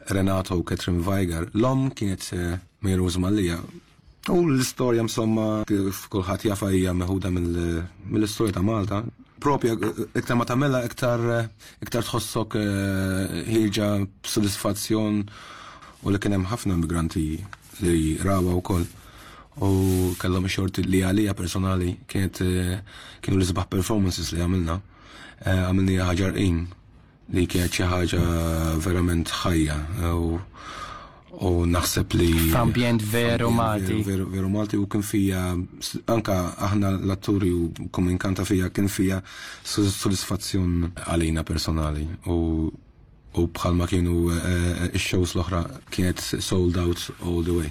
Renato u Catherine Weiger. L-omm kienet Mary Rose Mallia. U l-istorja, insomma, kif kulħadd jafha, hija meħuda mill-istorja ta' Malta. Propja, iktar ma tagħmilha, iktar tħossok ħierġa b'sodisfazzjon u li kien hemm ħafna immigranti li rawha wkoll. U kellhom xorti li għalija personali kienu l-isbaħ performances li għamilna. Għamilniha Ħaġar Qim, li kienet xi ħaġa verament ħajja u naħseb li F'ambjent veru Malti. Veru, veru Malti u kien fija anka aħna l-atturi u kominkanta fija kien fija sodisfazzjon għalina personali u bħalma kienu ix-shows l-oħra, kienet sold out all the way.